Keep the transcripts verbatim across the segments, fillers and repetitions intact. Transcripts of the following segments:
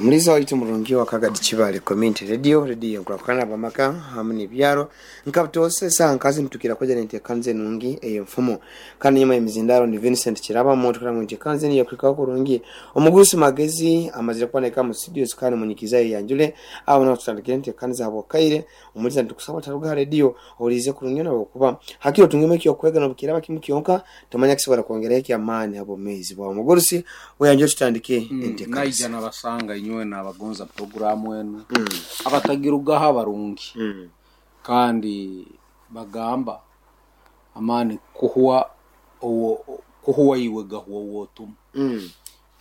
Omuliza waitu murungi wa Kagadi Kibale Community Radio, radio nkurakurana abamaka hamu n'ebyaro nkabutose esaha nkazi nitukira koja nenteekaniza enungi ey'enfumo. Kandi nyuma y'emizindaro ni Vincent Kiraba omuntu ngu enteekaniza enu yakuhikaho kurungi. Omugurusi Magezi amazire kuboneka mu studios kandi munyikiza yanjule aho naho tutandikire enteekaniza habwakaire. Omuliza nitukusaba taruga ha radio ohuriize kurungi nabwokuba hakiri otungemu ekyokwega nobukiraba kimu kyonka tomanya kisobora kwongeraho ekyamaani habwomezi bwawe. Omugurusi weyanjule tutandike enteekaniza. Naija nabasanga inywe nabagonza puroguramu enu abatagirugaho abarungi Mm. kandi bagamba amaani kuhwa owo kuhwa iwe gahuwa wotuma. Mm.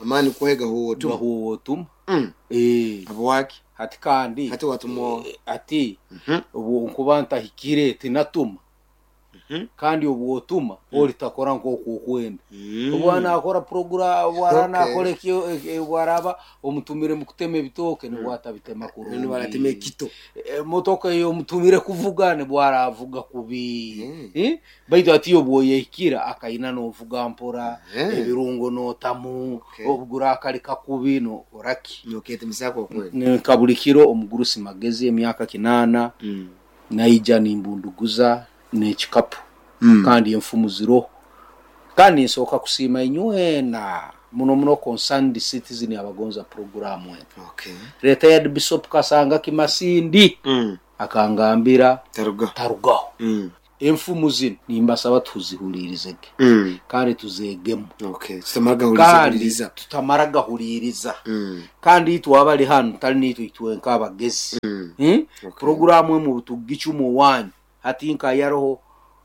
Amaani kuhega huwo tu. Gahuwa wotuma. Mm. Eh, Habwaki? hati kandi Hati watuma. eh, ati Mhm. obu nkuba ntahikire tinatuma. Mhm. Kandi obu otuma olitakora nk'oku okwenda. Mm. Obwana akora program, obwana Okay. akora ekyo eh, bwaraba omutumire mu kutema ebitooke nibwo atabitema kurungi. Nibwo aratema ekito. Emotoka eyo omutumire kuvuga nibwo aravuga kubi. Mm. Eh? Baitu ati obwoyehikira akaina novuga mpora, Mm. ebirungo notamu, Okay. obugura akali kakubi nokoraki. Noketemisako kweli. Nka buli kiro omugurusi Magezi emyaka kinaana Mm. naija nimbunduguza n'ekikapu. Mm. Kandi enfumu ziroho. Kandi nsooka kusiima inywena muno muno Concerned Citizen abagonza puroguramu eno. Okay. Retired Bishop Kasanga Kimasindi Mm. akangambira Taruga. tarugaho. Mm. Enfumu zino nimbasaba tuzihulirizege Mm. kandi tuzeegemu. Okay. Tutamara gahuriza Kandi huriza. tutamara gahuliriza. Mm. Kandi itwe abali hano tali niitwe itwe nk'abagezi. Mm. Hmm? Okay. Puroguramu emu tugicumu wanyu hati nka yaroho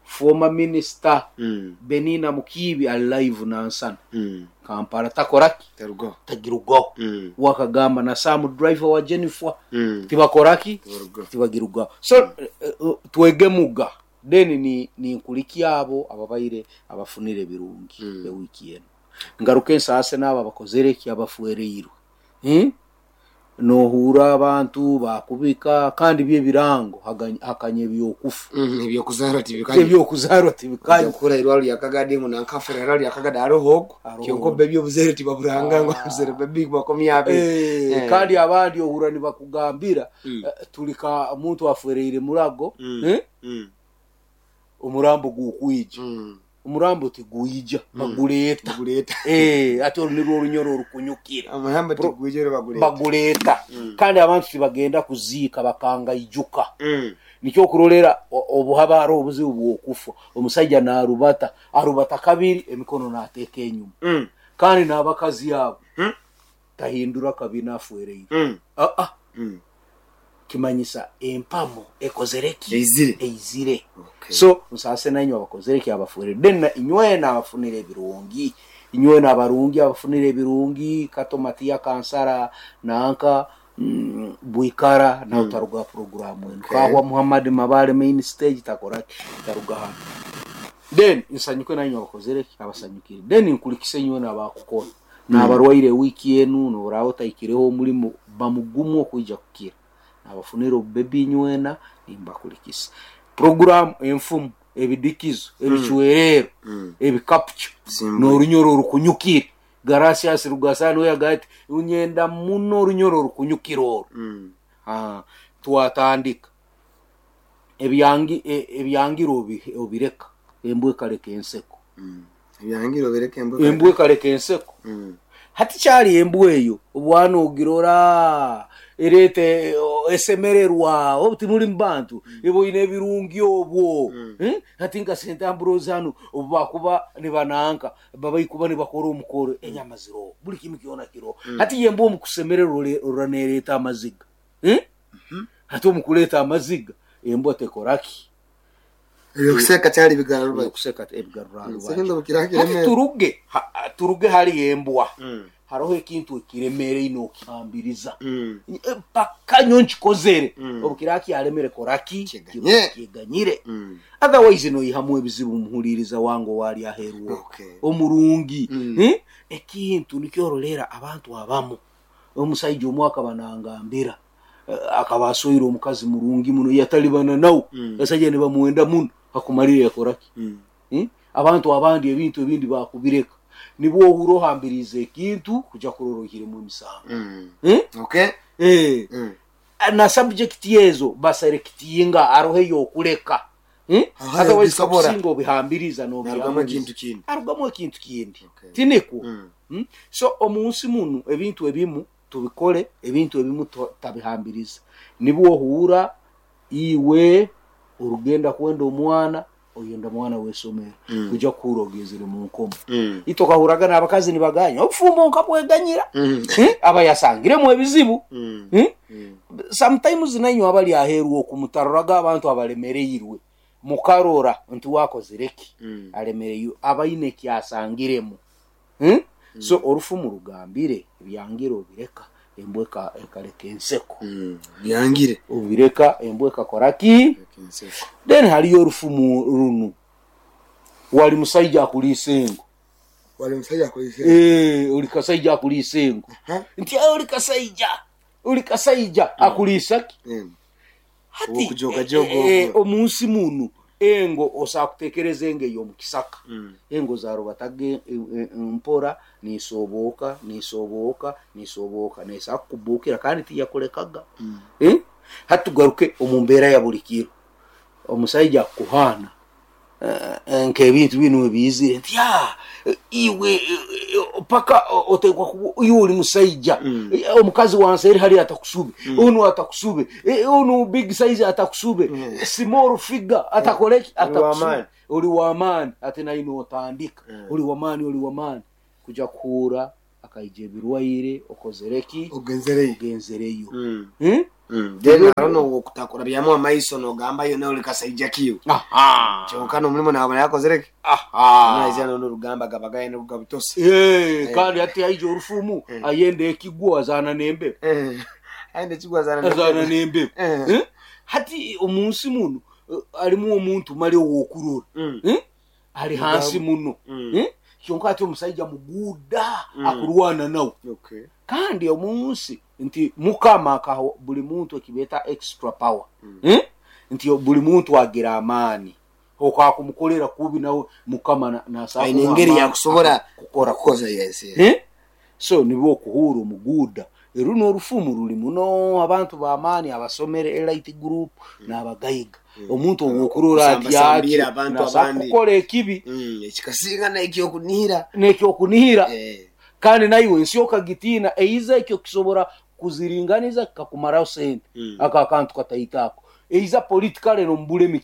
former minister Mm. Benina Mukiibi ali live nansana Mm. Kampala takoraki Taruga. tagirugaho. Mm. Wakagamba na Sam driver wa Jennifer Mm. tibakoraki Taruga. tibagirugaho. So eh, eh, twegemuga then ni ninkuliki abo ababaire abafunire ebirungi Mm. ewiki eno. Ngaruke nsaase n'abo abakozere eki abafuereirwe. Hmm? Nohura abantu bakubika kandi byebirango hakanya ebyokufa. Mm. Ebyokuzarwa tibikanye. Ebyokuzarwa tibikanye. Kura irwaro lya Kagadi ngo nankafura irwaro lya Kagadi hariho ogu. Hariho. Kyonko bebi obuzere tibaburanga ngo obuzere bebi bakomya abe. Eh, Eh. kandi abandi ohura nibakugambira Mm. eh, tulika omuntu afuereire murago. Mm. Eh? Mm. Omurambo gukwija. Mm. Omurambo tiguija baguleeta. Baguleta. Eh, ate olu nirwo orunyoro orukunyukira. Amahamba tigwijere baguleta. Baguleeta. Mm. Kandi abantu tibagenda kuziika bakangaijuka. Mm. Nikyo okurolera o- obuhaba hariho obuzibu bw'okufa. Omusajja n'arubata, arubata kabiri emikono n'ateeka enyuma. Mm. Kandi n'abakazi abo Mm. tahindura kabi n'afuereire. Mm. Ah, ah. Mm. Kimanyisa empamo ekozere ki? Eizire. Eizire. Okay. So nsaase nainywe abakozere ki abafuereire. Then na- inywena abafunire ebirungi. Inywena abarungi abafunire ebirungi Kato Matiya Kansara nanka mm, Bwikara nawe taruga puroguramu eno. Okay. Kahwa Muhammad Mabale main stage takora taruga hano. Then nsanyuke nainywe abakozere ki abasanyukire. Then nkulikise inywena abakukora. N'abarwaire wiki enu noraba otaikireho omulimo bamugumu okwija kukira. Abafunire obubebi inywena nimbakulikisa. Program enfumu ebidikizo ebicwerero Mm. ebikapcho Simba. n'orunyoro orukunyukire. Garasias Rugasani we yagamba ati unyenda muno orunyoro orukunyukira orwo. Mm. Ah, twatandika ebyangi e- ebyangiro obi- obireka embwa ekaleka enseko. Mm. Ebyangiro obireka embwa. Embwa ekaleka enseko. Mm. Hati kyali embwa eyo obwana ogirora ereete esemererwa obu timuli mu bantu eboine ebirungi obwo. Mm. Eh? Hati nka Saint Ambrose hanu obu bakuba nibananka babaikuba nibakora omukoro enyama ziroho buli kimu kyona kiroho. Hati ye embwa omukusemererwa ore- orora neereeta amaziga. Eh? Hati omukureeta amaziga embwa tekoraki? Ebyokuseka kyali bigarura. Ebyokuseka ebigarura Mm. rubaju. Sekendo bukira kireme. Hati turuge ha, turuge hali embwa. Mm. Hariho ekintu ekiremeere ino okihambiriza. Mm. Paka nyo nkikozere. Mm. Obukira kyaremere koraki Kiganye. kiganyire. Mm. Otherwise noihamu ebizibu muhuliriza wange wali aheruwo. Okay. Omurungi. Mm. Eh? Ekintu nikyorolera abantu abamu. Omusajja omwe akaba nangambira akaba asoire omukazi murungi muno yatalibana nawe. Mm. Abasajja nibamuwenda muno akumalire yakoraki. Mm. Eh? Abantu abandi ebintu ebindi bakubireka. Nibwo ohura ohambirize ekintu kuja kurora ohiremu emisango. Mm. Eh? Okay. Eh. Mm. Na subject yezo baselectinga arohe yokuleka. Eh? Aha, Otherwise bisobora. kusinga obihambiriza Narugamu n'obihambiriza. ekintu kindi. Arugamu ekintu kindi. Okay. Tiniko. Mm. Mm? So omunsi munu ebintu ebimu tubikole, ebintu ebimu tabihambiriza. Nibwo ohura iwe urugenda kwenda omwana oyenda mwana wesomero Mm. kuja kuhura ogezere mu nkomo. Mm. Itokahuraga n'abakazi nibaganya obufumbo nkabweganyira. Mm. Eh? Abayasangiremu ebizibu. Mm. Eh? Mm. Sometimes nanyu abali aheru okumutaroraga abantu abalemereirwe mukarora nti wakozereki Mm. alemereyo abaine kyasangiremu. Hmm? So orufumu rugambire byangire obireka embweka ekaleka enseko. Mm. Byangire obireka embweka koraki enseko. Then haliyo orufumu runu wali musaija akulisa engo. Wali musaija akulisa engo. Eh, oli kasaija akulisa engo. Uh-huh. Nti oli kasaija oli kasaija mm. akulisa ki? Mm. Hati Okujoga jogo. eh, eh, omunsi munu engo osakutekereza engo ey'omukisaka. Mm. Engo zarubataga e, e, mpora nisoboka nisoboka nisoboka nesakubukira kandi tiyakulekaga. Mm. Eh? Hatugaruke omu mbeera ya buli kiro omusaija akuhana uh, nk'ebintu binu ebiyizire nti ah, iwe paka otekwa iwe oli musaija. Mm. Omukazi wansi eri hali atakusube. Mm. Onu atakusube, onu big size atakusube. Mm. Small figure atakoleki atakusube. Oli Oli wamaani ate naino otandika. Mm. Oli wamaani oli wamaani kuja kuhura akaija ebirwaire okozereki ogenzereyo ogenzereyo. Mm. Hmm? Mm. Then arono okutakura byamu amaiso nogamba yo nawe likasaija kiyo. Aha. Kyonka n'omulimu nabona yakozereki. Aha. Naizana n'orugamba gabagaye n'ogabitosi. Eh, kandi ati aija orufumu Eh. ayende ekigwo azana n'embe. Eh. Ayende ekigwo azana Azana n'embe. Eh. Eh? Hati omunsi muno alimu omuntu mali owokurora. Mm. Eh? Ali hansi muno. Mm. Eh? Kyonka ati omusajja muguda Mm. akurwana nawe. Okay. Kandi omunsi nti mukama akaho buli muntu ekibeta extra power. Mm. Eh? Nti buli muntu agira amaani okakumukolera kubi nawe mukama nasaba aine engeri yakusobora kukora kukoza. Yes, yes. Eh? So nibwo okuhura omuguda eruno orufumu ruli muno abantu b'amaani abasomere elite group Mm. n'abagayiga. Mm. Omuntu owokurora ati Kusambasambira abantu abandi. kukola ekibi Mm, ekikasinga n'ekyokunihira n'ekyokunihira Eh. kandi naiwe ensi okagitiina eiza ekyo kisobora kuziringaniza kikakumaraho sente. Mm. Aka akantu kataitako eiza politikale nomubulemi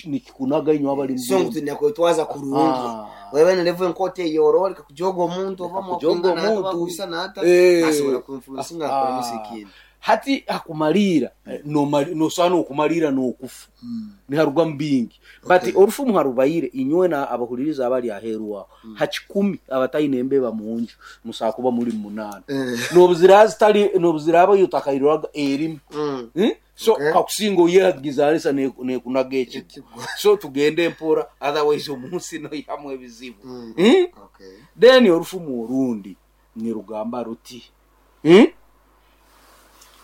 nikikunaga inyo abali So mubulemi. ntunakwetwaza kurungi. Ah. Wewe nalevu enkote eyoro likakujoga omuntu oba Likakujoga mwakwingana omuntu. bakuisa nata Eh. asobola kuinfluencinga Ah. akora misikini. Hati akumalira nomali nosana okumalira n'okufa. Niharuga mbingi but Okay. orufumu harubaire inywe na abahuliriza abali aheru aho hakikumi abataine embeba munju musakuba muri munana Eh. nobuzira zitali nobuziraba yutakairwaga erimu. Mm. Eh? So Okay. kakusinga oyehagizanisa nekunaga ekigwo. Ekigwo. So tugende mpora otherwise omunsi noyihamu ebizibu. Mm. Eh? Okay. Then orufumu orundi nirugamba ruti eh?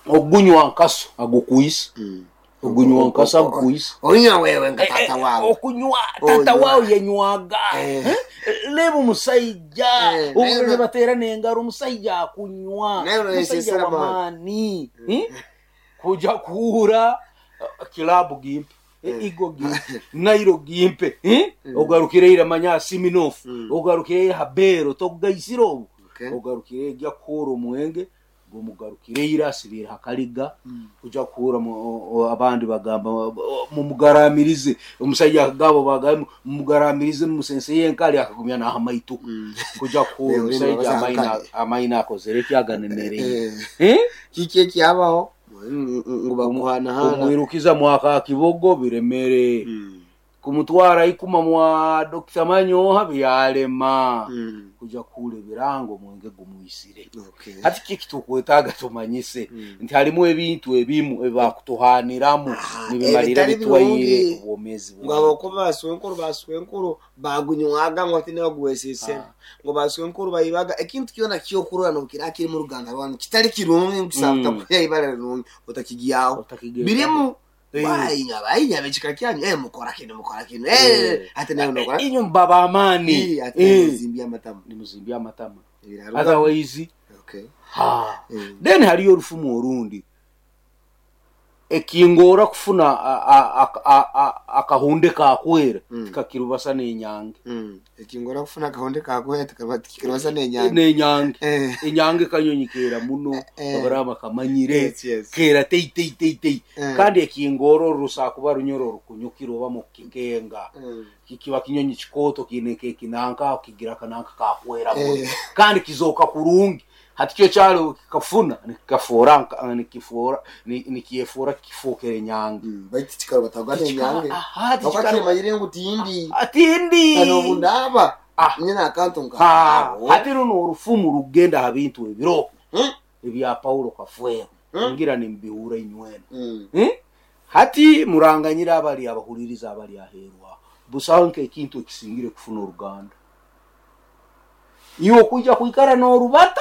Ogunywa nkaso agukuisa. Mm. Ogunywa nkaso agukuisa. Onywa wewe nga tata wawe. Okunywa tata Onywa. wawe yenywaga. Eh. Eh? Leba omusajja Eh, obulele naye- bateera n'engalo omusajja akunywa Naye omusajja olwesesera wamaani. Eh? Kuja kuhura uh, kilabu gimpe Eh. igo gimpe nairo gimpe eh? Ogarukire ira manya siminofu. Mm. Ogarukire ira habero tokugaisira obu Okay. ogarukire ejya kuhura omwenge gomugarukire ira asibire hakaliga kuja kuhura mu- o- abandi bagamba mumugaramirize omusajja gabo bagamba mumugaramirize musense yenkali akagumya n'ahamaituka Mm. kuja kuhura Eh, omusajja baza amaina hakali. amaina akozere kyaganemereye Eh. eh? Kiki ekyabaho ngu bakuhanahana. Kumwirukiza mwaka kibogo biremere. Mm. Kumutwara ikuma mwa Dokita Manyoha byalema. Mm. Kuja kuhura ebirango omwenge gumwisire. Okay. Hati kiki tukwetaaga tumanyise Mm. nti halimu ebintu ebimu ebibakutuhaniramu Ah, nibimalira ebitali bitwaire birungi. obwomeezi Ngo bwawe. abakuba baswenkuru baswenkuru bagunywaga ngo ati nibaguwesesera ngo baswenkuru bayibaga ekintu kyona kyokurora nokira kiri mu ruganda rwanyu kitali kirungi nkusaba Mm. utakuya ibara rirungi otakigyaho Otakigendaho. birimu. Eh. Wainya bainya bekika kyanyu eh mukora kino mukora kino eh ate nayo nokora Inywe mubaba amaani. Eh, ate nayo Eh. muzimbya amatamu Nimuzimbya amatama. Ebiraruga. Otherwise Okay. ha. Mm. Then haliyo orufumu orundi ekingora kufuna a- a- a- a- a- akahunde kakwera Mm. tikakirubasa n'enyange. Mm. Ekingora kufuna akahunde kakwera tikirubasa n'enyange. N'enyange. Eh. Enyange kanyonyi kera muno Eh. babaraba kamanyire Yes, yes. kera tei tei tei tei. Eh. Kandi ekingora orusakuba runyoro orukunyukira oba mukikenga Mm. kikiba kinyonyi kikoto kiine kekinanka kigira kananka kakwera muno. Eh. Kandi kizoka kurungi hati kyo kyalo kikafuna nikikafora nka- nikifora ni- nikyefora kifokere enyange. Mm. Baitu kikaro batagwa n'enyange. Aha, Bakwa tikikaro- kimanyire ngu tindi. Atindi. Kano bundaba. Ah. Nyina akantu nka. Ha, Awo. hati runo orufumu rugenda ha bintu ebiro Mm. ebya Paulo Kafwero. Mm. Ngira nimbihura inywena. Mm. Eh? Hati muranganyira abali abahuliriza abali aherwa busaho nk'ekintu ekisingire kufuna oruganda iwe okuija kwikara n'orubata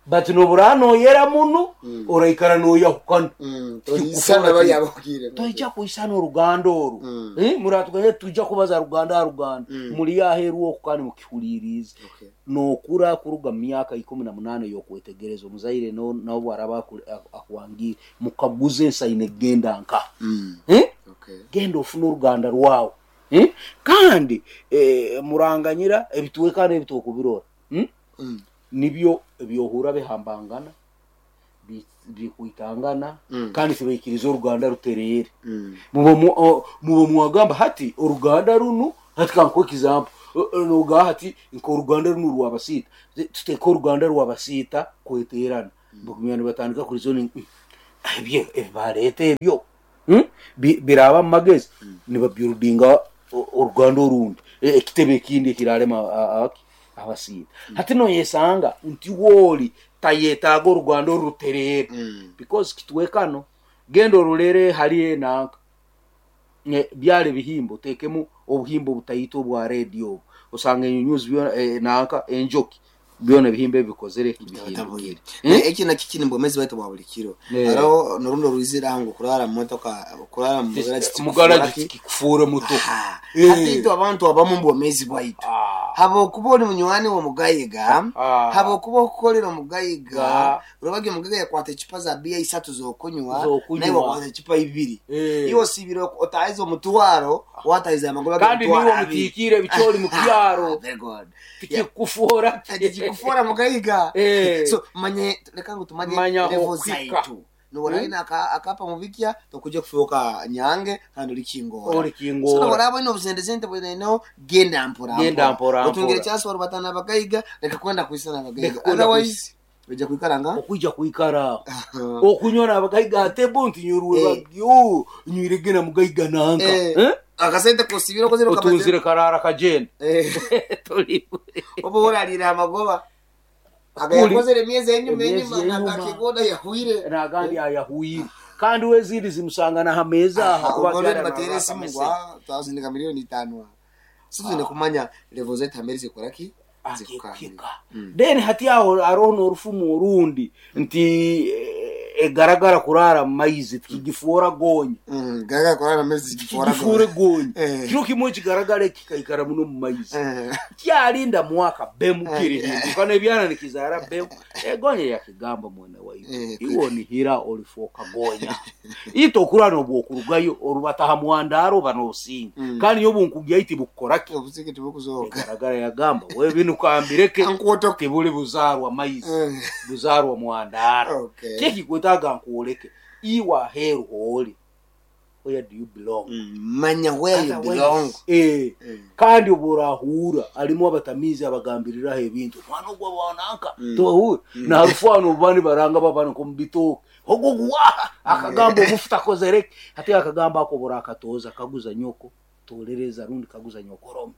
but nobura noyera muno Mm. oraikara noyahukana. Mm. Toyisana bali abakire. Toija kuisana oruganda oru. Mm. Eh, muratuganye tuija kubaza ruganda ha ruganda. Mm. Muri aheru oku kandi mukihulirize. Okay. Nokura kuruga mu myaka ikumi na munane yokwetegereza omuzaire no nabo araba aku- akuwangire mukaguze ensaine genda nka. Mm. Eh? Okay. Genda ofune oruganda rwawe. Eh? Kandi eh, muranganyira ebitwekana ebitokubirora. Hmm? Mm. Nibyo ebyohura bihambangana bi- bikwitangana. Mm. Kandi tibaikiriza oruganda ruterere. Mm. Mubo mu- o- mubo mwagamba hati oruganda runu hati kankuha example noga hati nka oruganda runo rwabasiita tuteka oruganda rwabasiita kweterana bakumya nibatandika kuri zone ebyo ebibareta ebyo. Hmm? Bi- biraba mu magezi nibabuildinga o- oruganda orundi E- ekitebe ekindi ekirarema a- a- abasiita hati noyesanga nti wooli tayetaaga oruganda oruterere. Mm. Because kitwekano genda orulere hali enanka byale bihimbo tekemu obuhimbo butaito obwa radio obu osanga enyunyuzi byona eh, nanka enjoki byona ebihimbo ebikozere bihindukire. Eh, eki nakyo kiri mu bwomezi bwaitu bwa buli kiro. Eh. Hariho norundi rwizira ngo kurara mu motoka kurara mu garage mugaraji kikufuura motoka. Aha. Eh. Hati itwe abantu abamu mu bwomezi bwaitu Ah. habwokuba oli munywani w'omugayiga Ah. habwokuba okukolera omugayiga Ga. urabage omugayiga yakwata ecupa za biya isatu z'okunywa Z'okunywa. naye wakwata ecupa ibiri. Eh. Iwe osibire otahiza omutwaro watahiza amagoba kandi g'emitwaro niwe abiri. mutiikire ebikyoli mu kyaro. Very good. Tikikufuura. Tikikufuura mugayiga. Eh. So manye leka ngu tumanye Manya level okwika. zaitu nuwaraina aka akapa mubikya tokujja kufuuka nyange kandi oli kingora. Oli kingora. So nuwaraba ino obusente sente bwinaino genda mpora Genda mpora otungire mpora. chance warubatana abagayiga leka kwenda kuisana abagayiga Leka kwenda otherwise ojja kwikara nga okuija kwikara okunywa n'abagayiga ate bo nti nyurwe Eh. bagyo nywire gena mugayiga nanka. Eh. Eh? Akasente kosibira okozere okamaze- Otunzire karara kagenda. Eh. Toli oba oralira amagoba agayakozere emyezi enyuma Emyezi enyuma enyuma. nagakigoda yahwire Nagandi ayahuire kandi wezindi zimusanga na hameza aha kuba ubwo byara nibatere na- esimu ngo ah, twazindika miliyoni itano si tuzine kumanya level zaitu hamere zikora ki zikukamira. Akikika then hati aho aroho n'orufumu orundi nti eh, egaragara kurara mu maizi tikigifuura gonya. Mm, garagara kurara amezi zikifora Kigifuure gonya. Eh. Kiro kimwe kigaragara kikaikara muno mu maizi Eh. kyalinda mwaka bemu kirihinduka nebyana nikizara bemu egonya yakigamba mwene waitu Eh, iwe onihira olifuuka gonya ite okurana obwokurugayo orubataha mwandaro oba n'obusinga Mm. kandi nyowe bunkugya iti bukukoraki obusike tibukuzoka. egaragara yagamba we binu kambireke Ankuotoke. tibuli buzarwa maizi Eh. buzarwa mwandara. Okay. Kyekikwetaaga nkuoleke iwe aheeru hooli where do you belong. Mm, manya where you belong. Eh. Eh. Kandi obworahuura alimu abatamiizi abagambiriraho ebintu omwana ogwo bwananka Mm. tohuura narufano obubani baranga babana nkomubitooke ogwo guwaha akagamba omufu takozereke hati akagamba ako oborakatooza kaguza nyoko tolereza rundi kaguza nyokorome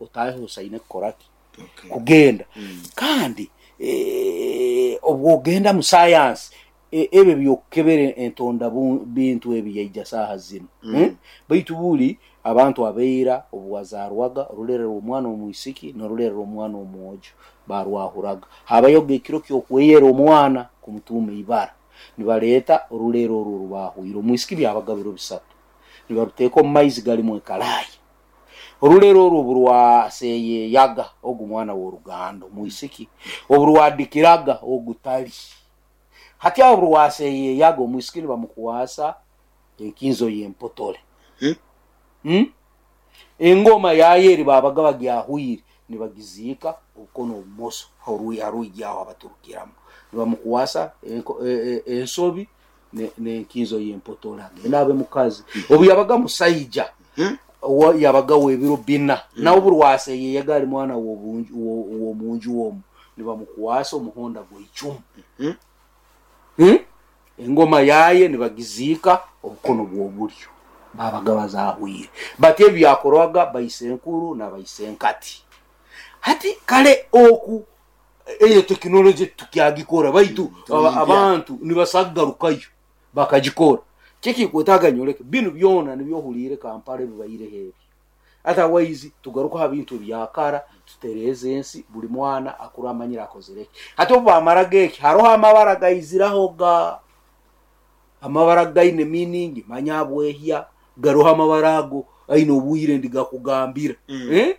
otahe osaine kukoraki Okay. kugenda. Mm. Kandi eh, obwogenda mu science e- ebyo byokukebera entonda bu- bintu ebi yaija saaha zino. Mm. Eh? Baitu buli abantu abeira obuwazarwaga orulerera omwana omwisiki norulerera omwana omwojo barwahuraga habayoga ekiro kyokweyera omwana kumutuuma ibara. Nibareeta orulero orwo rubahwire omwisiki byabaga biro bisatu, nibaruteeka omu maizi galimu ekaraaya. Orulero orwo burwaseyeyaga ogu mwana w'oruganda omwisiki, oburwadikiraga ogutali. Hati aho burwaseyeyaga omwisiki nibamukwasa enkinzo y'empotole. Hmm? Hmm? Engoma yayeri babaga bagyahwire nibagiziika obukono obumoso orui aho abaturukiramu, nibamukwasa e, e, ensobi n'enkinzo y'empotole agenda abe mukazi. Obu yabaga musaija Hmm? yabaga w'ebiro bina, nawe burwaseyeyaga ali mwana w'omunju omu, nibamukwasa omuhonda gw'icumu. Hmm? Hmm? Engoma yaye nibagiziika obukono bw'obulyo babaga bazahwire. Bati ebyakorwaga baisenkuru na baisenkati. Hati kale oku eyo tekinoloji tukyagikora, baitu abantu nibasagarukayo bakagikora. Kiki kwetaaga nyoleke binu byona nibyohuliire Kampala ebibaireho ebi. Otherwise tugaruka ha bintu byakara, tutereeze ensi, buli mwana akura amanyire akozere eki. Hati obu bamaraga eki, haroho amabara gaiziraho ga amabara gaine meaning manya bwehya, garoho amabara ago aine obwire ndigakugambira. Mm. Eh?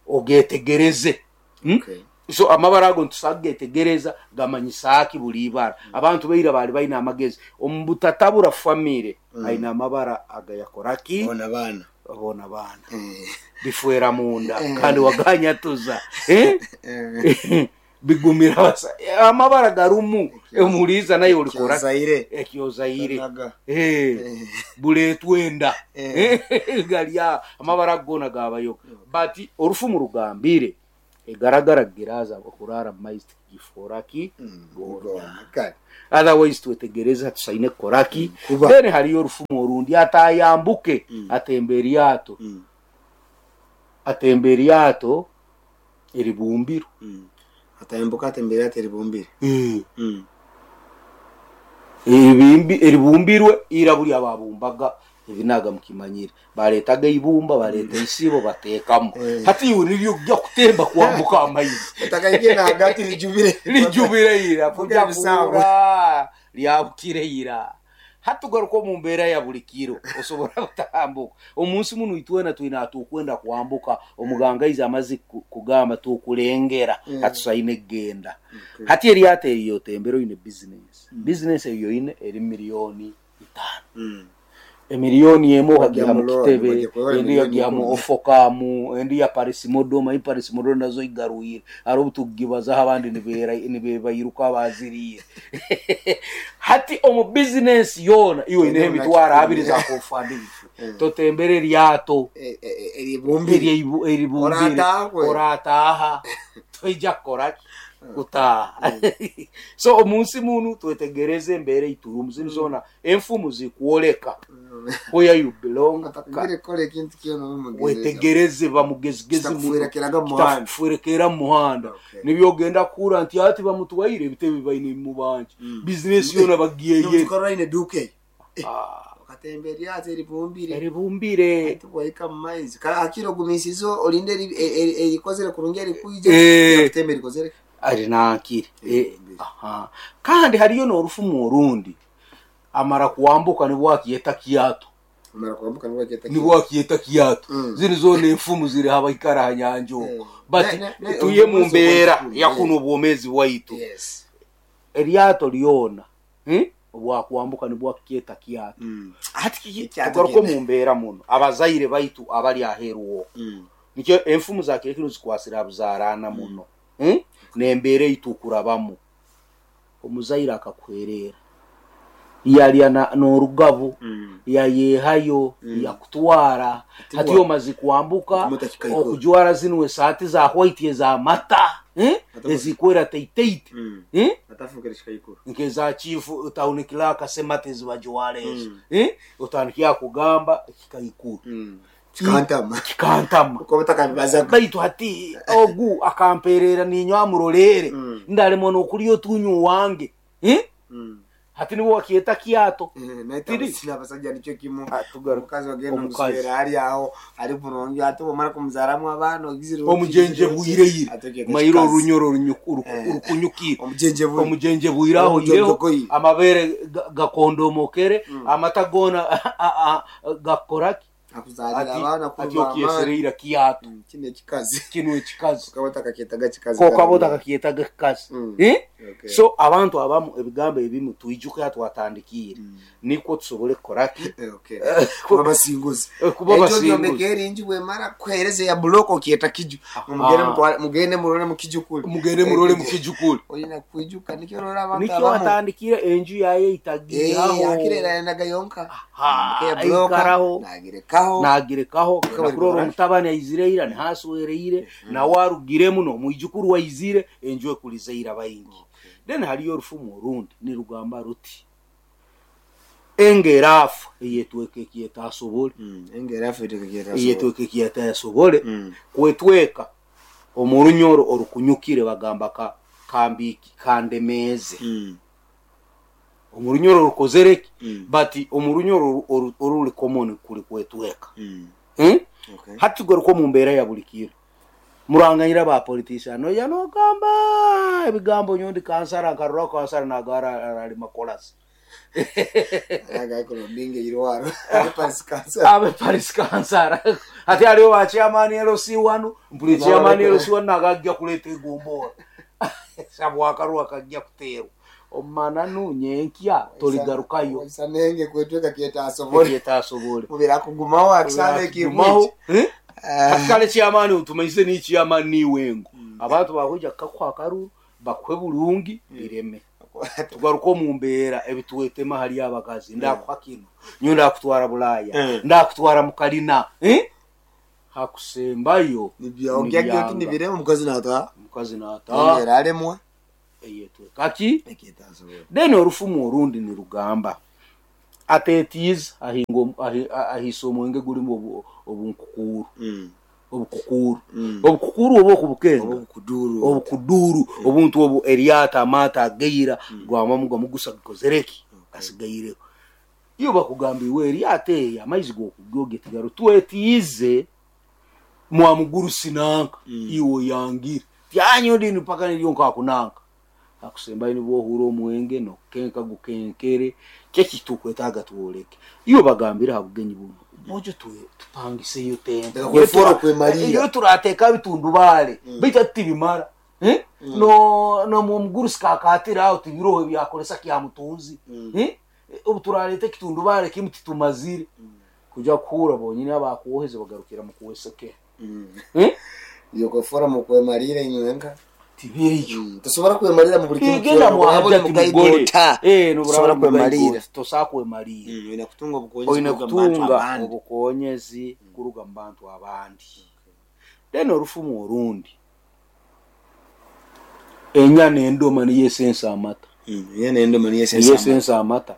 Ogetegereze. Hmm? Okay. So amabara ago ntusagetegereza gamanyisaki buli ibara. Abantu baira bali baine amagezi omu butatabura famire. Mm. Aine amabara agayakoraki Bona baana. Bona baana. Eh. Bifwera munda Eh. kandi waganyatuza, eh? Eh. Bigumira basa amabara garumu emuliza naye olikora Ekyozaire. Ekyozaire. Tanaga. Eh. Eh. Buletwenda. Eh. Galya amabara gona gabayo, but orufumu rugambire egaragara giraza okurara mu maizi giforaki Mm. gona. Gona. Kale. Otherwise twetegereza tusaine kukoraki. Kuba. Then hariyo orufumu orundi atayambuke Mm. atemba eryato. Mm. Atemba eryato eribumbirwe. Mm. Atayambuka atembera ate eribumbire. Mm. Mm. Ebimbi eribumbirwe ira buli ababumbaga ebinaga mukimanyire baretaga ibumba, bareta isibo batekamu. Eh. Hati iwe niryo kujya kutemba kwambuka amaizi Utakaigena hagati rijubire. Rijubire ira Vuga kujya ebisambo. kura lyabukire ira. Hatugaruka omu mbeera ya buli kiro osobora kutambuka omunsi muno itwena twina atukwenda kwambuka omuganga aize amazi ku- kugamba tukulengera. Mm. Hatusaine kugenda. Okay. Hati eryato eriyo otembere oine business business eyo oine eri miliyoni itaano. Mm. Emiliyoni emu okagiha mu Wajja mu kitebe, loan, wajja kuwewa endi emiliyoni yagiha mu ikumi. ofokamu, endi ya parisimodo mayi parisimodo nazo igarwire hari obu tugibazaho abandi nibera- nibebairuka baziriire. Hati omu bizinesi yoona iwe oineho emitwaro abiri zakofanda ebifu Eh. totembere eryato Eh, eh, eh, eribumbire. erye- eribumbire. Orataha kwe. Orataha toija kukoraki kutaha. So omunsi munu twetegereze embeera eiturumu zinu zona enfumu zikwoleka where you belong. Atakugire kora ekintu kyona mugezi. Wetegereze bamugezigezi. Kitakufuirekeraga mu muhanda. Kitakufuirekera mu muhanda. Okay. Nibyo ogenda kukura nti ati bamutwaire ebitebe baine mubanje bizinesi yona bagiyeye. Tukora ine duke. Ah, Okatemba eryato eribumbire. Eribumbire. Tuwaika mu maizi. Ka akiro gumisizo olinde eri- eri- erikozere kurungi erikwija. Eh. Kutemba erikozere. Arinankire. Eh, Eribumbire. Aha. Kandi hariyo n'orufumu orundi amara kuambuka nibwo akiyeta kiato. Amara kwambuka nibwo akiyeta. Nibwo akiyeta kiato. Mm. Ziri zona enfumu ziri habaikara ha nyanja okwo. Eh. But Ne- ne- ne- tuye mu obwomezi mbeera obwaitu. yakuno obwomezi bwaitu. Yes. Eryato lyona, eh? Obwakwambuka nibwo akiyeta kiato. Mm. Hati kiki Ekyato tugaruka kyene. mu mbeera muno abazaire baitu abali aheeru okwo. Mm. Nikyo enfumu za kirekiro zikwasira abuzaarana muno, eh? Nembeera eitukurabamu omuzaire akakuherera yalya na- n'orugabo. Mm. Yayehayo. Mm. Yakutwara. Hati hati wa- omazi kwambuka Okumuta kikaikuru. okujwara zinu esaati za white ez'amata, eh? Ata- Ezikwera teiteite. Mm. Eh? Atafukira kikaikuru. Nkeza chifu utaunikila akasema tezibajwara ezo. Mm. Eh? Utandikira kugamba kikaikuru. Mm. Kikantama. Kikantama. Uko batakabibazaga. Baitu hati ogu akamperera ninywa amurorere. Mm. Ndalemwa nokulya otunyu wange, eh? Mm. Hati niwe wakyeta kyato. Abasajja nikyo kimu, omukazi ogenda omuswera ali aho ali burungi, ate bwomara kumuzaramu abaana ogizire omujenje bwireire mairo orunyoro orukunyukire omujenje bwire aho ireho amabere gakondomokere amata gona gakoraki akuzalira abaana ati okyesereira kiato kino ekikazi kino ekikazi kokabota kakyetaga kikazi kokabota kakyetaga kikazi. Eh, so abantu abamu ebigambo ebimu twijuka twatandikire nikwo tusobole kukoraki kuba basinguzi kuba basinguzi ekyo enju bwemara kuhereza ya block okyeta kiju mugende mugende murole mukijukuli mugende murole mukijukuli olina kwijuka nikyo rora abantu nikyo watandikire enju yaye itagiraho eh akire naga yonka ya block nagirekaho nagirekaho kurora omutabani aizireira nihaswereire nawe arugiremu nomwijukuru waizire enju ekulizeira baingi. Then haliyo orufumu orundi nirugamba ruti engerafu eyetweka ekyetasobole engerafu eyetweka ekyetasobole kwetweka omurunyoro orukunyukire bagamba ka kambiki kandemeze omurunyoro rukozereki but omurunyoro oruli common kuli kwetweka. Hmm? Okay. Hati tugaruka mu mbeera ya buli kiro muranganyira ba politician no yanogamba ebigambo nyondi kansara nkarura kansara nagara ali makolasi aga ko binge irwaro abe Paris kansara abe Paris kansara ati aliyo wa chairman L C one mpuli chairman L C one nagajja kuleta egombora sabu akarwa kajja kuterwa omananu nyenkya toligarukayo isanenge kwetweka kyeta asobole kyeta asobole mubira kugumaho akisane kimwe eh akale chairman utumaise ni chairman ni wengo abantu bahuja kakwa karu bakwe bulungi bireme tugaruko mu mbeera ebituwetema hali abakazi ndakwa kino nyo ndakutwara Bulaya ndakutwara mukalina eh hakusembayo nibyo nibireme omukazi nata omukazi nata era alemwa eyetweka then orufumu orundi nirugamba atetiza ahingo ahisa omwenge gulimu obunkukuru obukukuru obukukuru obo okubukenga obukuduru obukuduru obuntu obu eriata amata ageira gwamamuga mugusa kozereki asigaireko iyo bakugambiwe eriata eya amaizi gokugyoge tigaro twetize mwamuguru sinanka iwo yangira tyanyo dini paka nilyo nkakunanka akusemba ni bwohura omwenge no kenka gukenkere kekitukwetaga tuoleke iyo bagambira habugenyi buno mojo tupangise iyo tente kwefora kwemalira iyo turateka bitundu bale bita tibimara eh no no muguru sikakatira aho tibiroho byakolesa kya mutunzi eh obuturalete kitundu bale kimutitumazire kuja kuhura bonyine abakuwoheze bagarukira mu kuweseke eh iyo kwefora mu kwemalira inywenga tibiriyo tosobora kwemalira mu buli kintu kigenda muhajja eh tosobora kwemalira tosobola kwemalira oyina kutunga obukonyezi oyina kutunga obukonyezi kuruga mu bantu abandi. Then orufumu orundi enyana endoma niyo esensa amata enyana endoma niyo esensa amata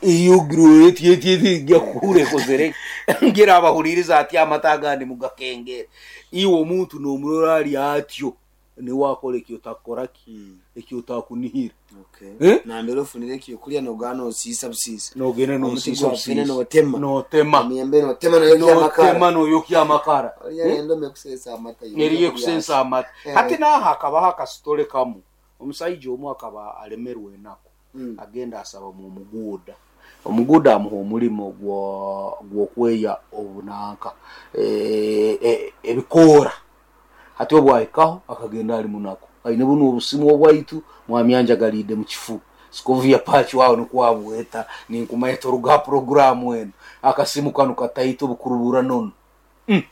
iyo eti gakure kozere ngira abahuliriza ati amata agandi mugakengere iwo omuntu nomurora ali atyo niwakora ekyo takoraki ekyo takunihira. Okay. Nambere ofunire ekyo kulya nogana osisa busisa nogenda nosisa busisa notema notema emiyembe notema noyokya amakara notema noyokya amakara endome kusensa amata eriye kusensa amata. Hati naha akabaho akasitole kamu omusajja omu akaba alemerwe enako agenda asaba mu muguda omuguda amuha omulimo gwokweya obunanka ebikoora hati obwahikaho akagenda ali munako aine buno obusimu obwaitu mwamyanja galide mu kifu sikovya pachi wao nikwabweta ninkumaita oruga programu eno akasimu kanu kataito bukurubura nono mm.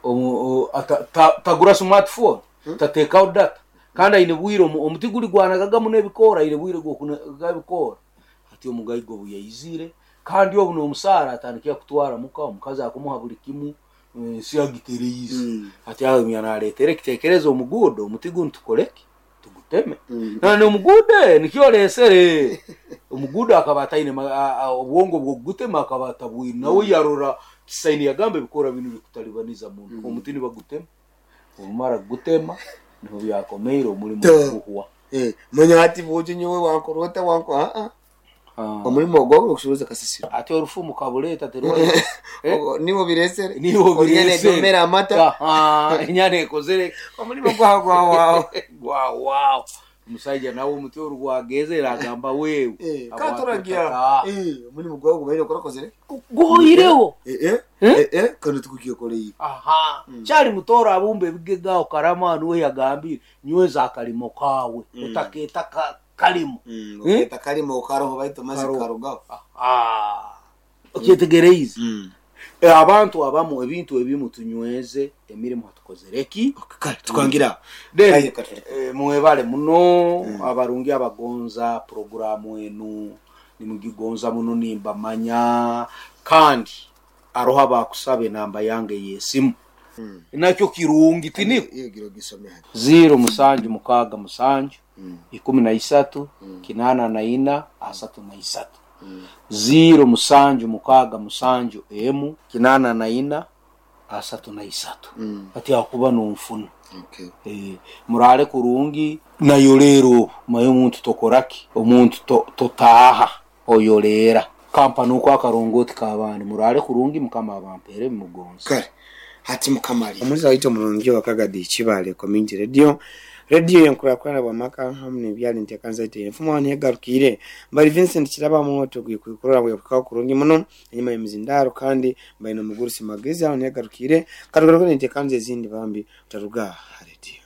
o, ata, ta, tagura smartphone hmm? Tatekaho data kandi aine bwire omuti guli gwanagagamu n'ebikoora aine bwire gwokunaga ebikoora hati omugaigo buyaizire kandi obu n'omusaara atandikira kutwara muka omukazi akumuha buli kimu ensi agitereize mm. Hati aho naleetera ekiteekerezo omuguudo omuti gunu tukoleki tuguteme mm. Nane omuguude nikyo lesere omuguudo akaba ataine obwongo bw'okugutema akaba atabwine nawe yarora kisaini yagamba ebikoora binu bikutalibaniza muno mm. Omuti nibagutema omumara kugutema niho byakomeire omulimu guhwa. Eh, manya ati bwojo nyowe wankorota wanko ah ah Ah. omulimo ogwo okushuruza kasasiro Ate orufumu kabuleta terwa Eh? niwo biresere Niwo biresere. Onyana amata. Aha, enyana ekozere Omulimo gwawo gwawawo. Gwawawo omusajja nawe omutwe orwageze agamba wewe Eh, Abwate katuragira otaka. eh omulimo gwawo gubaire okurakozere. Guhoireho. Eh eh Eh? eh eh kandi tukukiyokoreye. Aha, kyali mutooro abumba ebigegaho karama niwe yagambire nyweza akalimo kawe otakeeta ka- kalimo. Mm, Eh? oketa kalimo karoho baitu mazi Karoho. karugaho. Aha. Okyetegereize? Mm. Eh, abantu abamu ebintu ebimu tunyweze emirimu hatukozereki. Kale tukwangira. Then, Aye, katuli. eh, mwebale muno abarungi abagonza programu enu nimugigonza muno nimbamanya kandi aroho abakusaba enamba yange yesimu nakyo kirungi tiniko. Iyo giro gisome hati. Ziro musanju mukaaga musanju ikumi na isatu kinana na ina asatu na isatu, ziro musanju mukaaga musanju emu kinana na ina asatu na isatu. Ati akuba nonfuna. Okay. Eh, murale kurungi nayo leero maye omuntu tokoraki omuntu to- totaaha oyoleera kampani uko akarongoti kabandi murale kurungi mukama abampere mugonza. Kale hati mukamali omuliza waitu omulungi wakagadi Kibale Community Radio, radio yenkurakurana bwamaka hamu nebyali ntekanza ite enfumo wano yegarukire mbali Vincent Kiraba mwoto gwikukurora bwekukaho kurungi muno enyuma y'emizindaro kandi mbali nomugurusi magezi aho negarukire katugaruka nentekanza ezindi bambi utaruga ha radio.